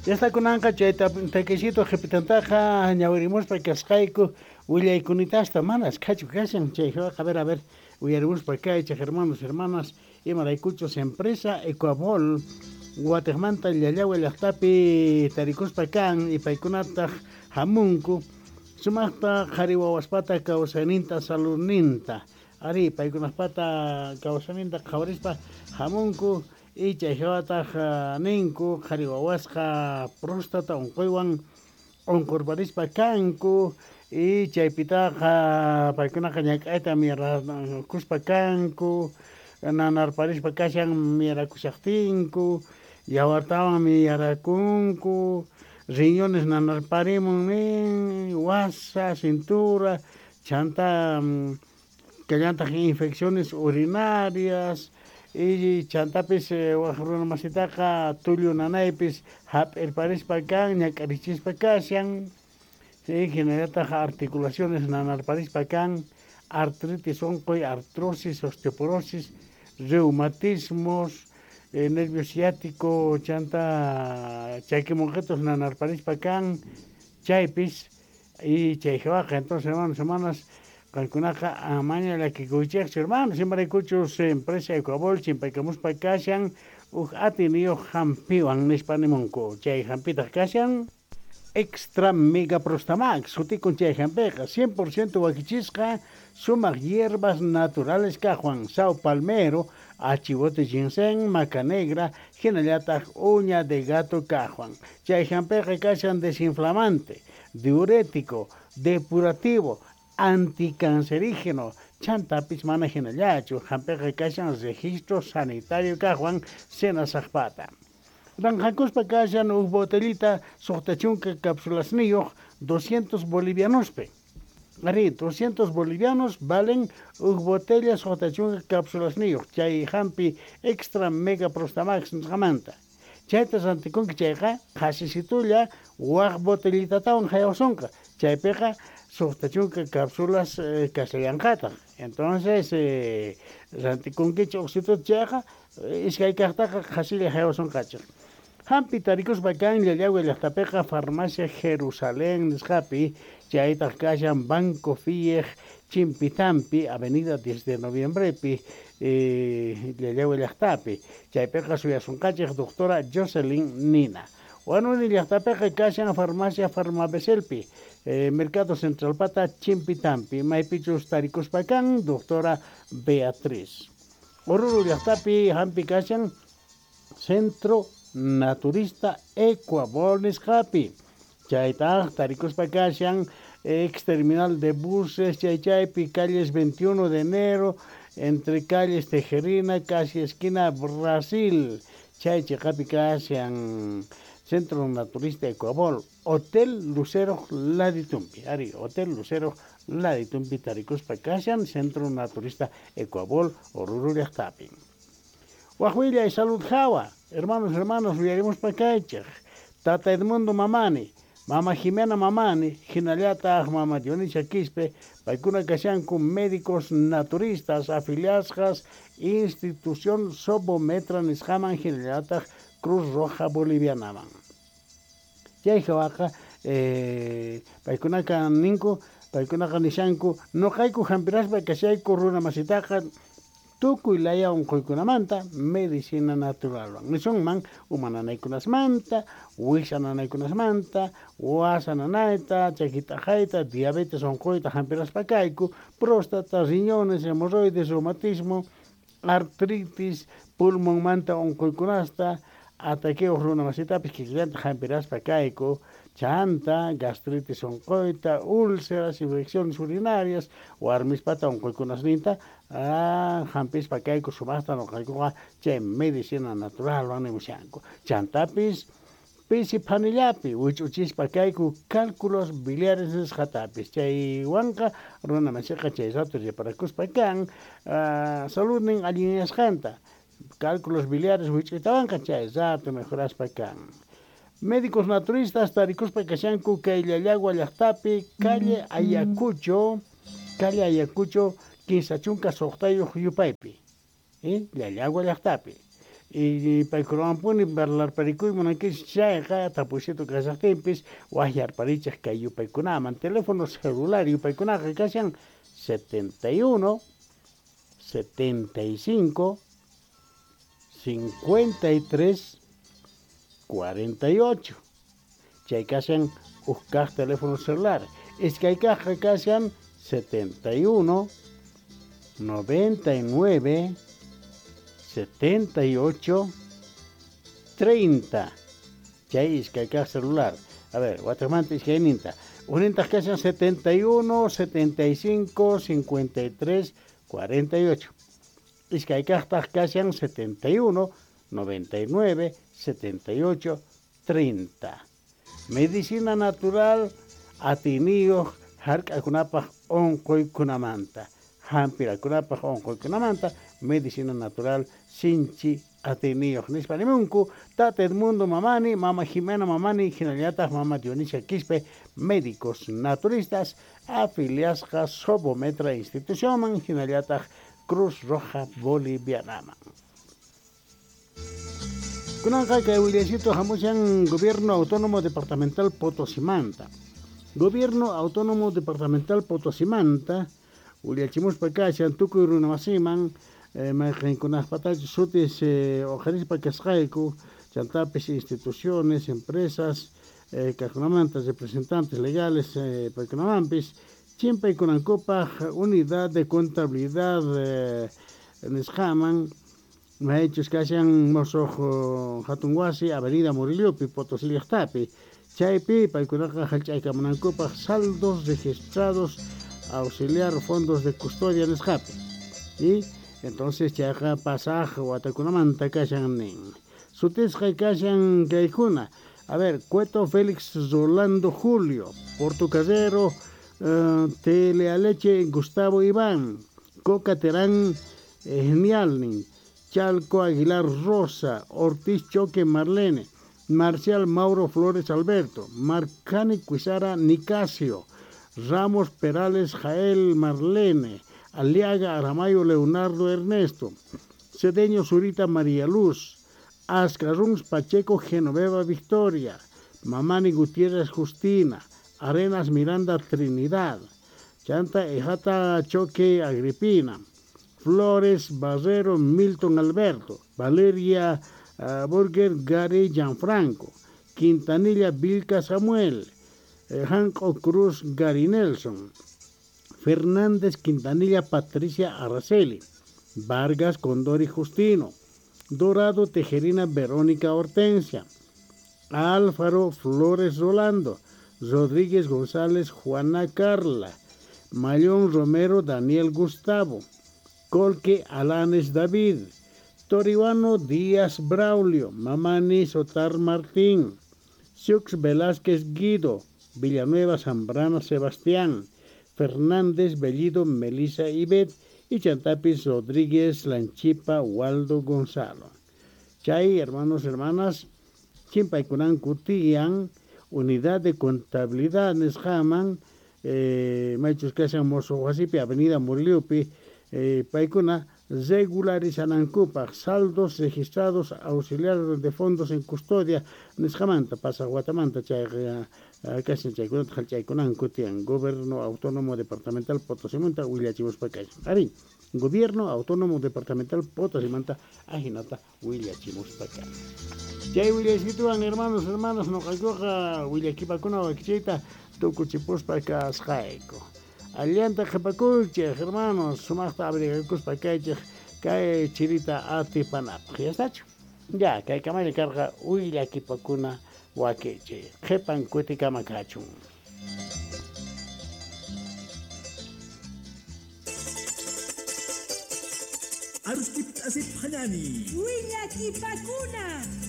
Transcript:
Ya kunanqa chay takisito qhipitantaqa ñawirimuspa kasqayku willaykunitasta mana askhachu kashan chay a ver, a ver, uyarimuspa kaychej, hermanos, hermanas, imaraykuchus empresa Ecuabol watejmanta Llallagua llajtapi tarikuspa kan y paykunataq hamunku sumaqta qhari wawaspata kawsayninta saludninta ari paykunapata kawsayninta qhawarispa hamunku y chay hawataq ninku qhari wawasqa próstata unquywan unqurparispa kanku y chaypitaqa paykunaqa ñak'ayta miyarakuspa kanku nanarparispa kashan miyarakushaqtinku yawartawan miyarakunku riñones nanarparimun nin wasa cintura chanta kallantaq infecciones urinarias y chantapis waj runa masitaqa tullu nanaypis hap'irparispa kan ñak'arichispa kashan, sí, hinallataq articulaciones nanarparispa kan, artritis unquy, artrosis, osteoporosis, reumatismos, nervio ciático, chanta chakimunqitus nanarparispa kan, chaypis y chay hawaqa. Entonces, hermanos, hermanas, qankunaqa amaña llakikuychikchu, hermanos, imaraykuchus empresa Ecuabol chimpaykamuspa kashan uj atiyniyuq hampiwan nispa nimunku. Chay hampitaq kashan Extra Mega Prostamax, sutikun chay hampiqa, 100% wakichisqa sumaq hierbas naturales kaqwan, sao palmero, achivote ginseng, maca negra, hinallataq uña de gato kaqwan. Chay hampiqa kashan desinflamante, diurético, depurativo, anticancerígeno, chantapis mana hinallachu, hampiqa kashan registro sanitario kaqwan Senasajpata. Ranjakuspa kashan uj botellita 60 cápsulasniyuq 200 bolivianospi. Ari, 200 bolivianos valen uj botella 60 cápsulasniyuq chay hampi Extra Mega Prostamax nisqamanta. Chayta rantikunki chayqa qhasisitulla waj botellitatawan haywasonqa. Chaypiqa 60 cápsulas kashallanqataq. Entonces, rantikunkichik uqsituta chayqa iskay kaqtaqa qhasilla haywasonqachik. Hampi tarikuspa kan Llallagua llaqtapiqa Farmacia Jerusalén nisqapi, chaytaq kashan Banco Fiej Chimpitampi, Avenida 10 de Noviembrepi, Llallagua llaqtapi. Chaypiqa suyasunqachik doctora Jocelyn Nina. Huanuni llaqtapiqa kashan Farmacia Farmabeselpi, Mercado Centralpata Chimpitampi, maypichus tarikuspa kan doctora Beatriz. Oruro llaqtapi hampi kashan Centro Naturista Ecuabol nisqapi. Chaytaq tarikuspa kashan ex terminal de buses chaychaypi, calles 21 de enero, entre calles Tejerina, casi esquina Brasil. Chay chiqapi kashan Centro Naturista Ecuabol, Hotel Lucero Laditumpi. Ari, Hotel Lucero Laditumpi tarikuspa kashan Centro Naturista Ecuabol, Oruro llaqtapi. Wajwilla y Salud Jawa, hermanos, hermanos, uyarimuspa kaychej. Tata Edmundo Mamani, Mama Jimena Mamani, hinallataq Mama Dionisia Quispe, paykuna kashanku médicos naturistas afiliasqas Institución Sobometra nisqaman hinallataq Cruz Roja Bolivianaman. Chay hawaqa paykunaqa ninku, paykunaqa nishanku, noqayku hampiraspa kashayku runa masitaqa tukuy laya unquykunamanta medicina naturalwan. Nisunman uma nanaykunasmanta, wiksa nanaykunasmanta, wasa nanayta, chaki t'aqayta, diabetes unquyta hampiraspa kayku, próstata, riñones, hemorroides, reumatismo, artritis, pulmonmanta unquykunasta, ataqueo runa masitapis kikillanta hampiraspa kayku, chanta, gastritis unquyta, úlceras, infecciones urinarias, warmispata unquykunasninta, hampispa kayku sumaqta noqaykuqa chay medicina naturalwan nimushanku. Chantapis pisi phanillapi wich'uchispa kayku cálculos biliares nisqatapis. Chaywanqa runa masiqa chay rato reparakuspa kan saludnin allinyasqanta. Cálculos biliares wich'uytawanqa chay rato mejoraspa kan. Médicos naturistas tarikuspa kashanku kay Llallagua llaqtapi, calle Ayacucho, calle Ayacucho, 36 yupaypi, Llallagua llaqtapi. Y paykunawanpuni parlarparikuy munankichis chayqa tapuysitu kashaqtinpis waqyarparichej kay yupaykunaman teléfono celular yupaykunaqa kashan 71 75 53 48 chay kashan uj kaq teléfono celular iskay kaqqa kashan 71 99 78 30 chay iskay kaq celular. A ver, wataqmanta iskayninta ujnintaq kashan 71 75 53 48 iskay kaqtaq kashan 71 99 78 30. Medicina natural atiniyuq hark'akunapaq unquykunamanta hampirakunapaq unquykunamanta medicina natural sinchi atiniyuq nispa nimunku Tata Edmundo Mamani, Mama Jimena Mamani, hinallataq Mama Dionisia Quispe, médicos naturistas afiliasqa Sobometra institucionman hinallataq Cruz Roja Bolivianaman. Kunanqa kay willasito hamushan Gobierno Autónomo Departamental Potosimanta. Gobierno Autónomo Departamental Potosimanta willachimuspa kashan tukuy runamasiman mayqinkunaqpatachu sutis uqharispa kasqayku chantapis instituciones, empresas kaqkunamanta representantes legales paykunamanpis chimpaykunankupaq unidad de contabilidad nisqaman maychus kashan mosoq hatun wasi Avenida Murillopi Potosí llaqtapi chaypi paykunaqa hallch'aykamunankupaq saldos registrados auxiliar fondos de custodia nisqapi y entonces chayqa pasaq watakunamanta kashan nin sutisqa kashan kaykuna. A ver, Cueto Félix Rolando Julio, Portocarrero Telealeche Gustavo Iván, Coca Terán Genialnin, Chalco Aguilar Rosa, Ortiz Choque Marlene, Marcial Mauro Flores Alberto, Marcani Cuizara Nicasio, Ramos Perales Jael Marlene, Aliaga Aramayo Leonardo Ernesto, Cedeño Zurita María Luz, Ascarruns Pacheco Genoveva Victoria, Mamani Gutiérrez Justina, Arenas Miranda Trinidad, Chanta Ejata Choque Agripina, Flores Barrero Milton Alberto, Valeria Burger Gary Gianfranco, Quintanilla Vilca Samuel, Janco Cruz Gary Nelson, Fernández Quintanilla Patricia Araceli, Vargas Condori Justino, Dorado Tejerina Verónica Hortensia, Álvaro Flores Rolando, Rodríguez González Juana Carla, Mayón Romero Daniel Gustavo, Colque Alanes David, Toribano Díaz Braulio, Mamani Sotar Martín, Siux Velázquez Guido, Villanueva Zambrana Sebastián, Fernández Bellido Melisa Ibet y Chantapis Rodríguez Lanchipa Waldo Gonzalo. Chay, hermanos, hermanas, chimpaykunanku tiyan, unidad de contabilidad nisqaman, maychus kashan mosoq wasipi Avenida Murillopi, paykuna regularizanankupaq saldos registrados auxiliares de fondos en custodia nisqamanta pasaq watamanta chayqa kashan chaykunata hallch'aykunanku tiyan Gobierno Autónomo Departamental Potosimanta willachimuspa kashan. Arí, Gobierno Autónomo Departamental Potosimanta ajinata willachimuspa kashan. Chay willasituwan hermanos, hermanas, noqaykuqa willakipakuna wakichiyta tukuchipuspa kasqayku. Allanta qhipakuychej, hermanos, sumaqta abrigakuspa kaychej kay chirita atipanapaq. Ya estachu? Ya, kay kamalla karqa willakipakuna wakichi. Qhipan kutikama kachun. Arustip asip hanani. Willakipakuna.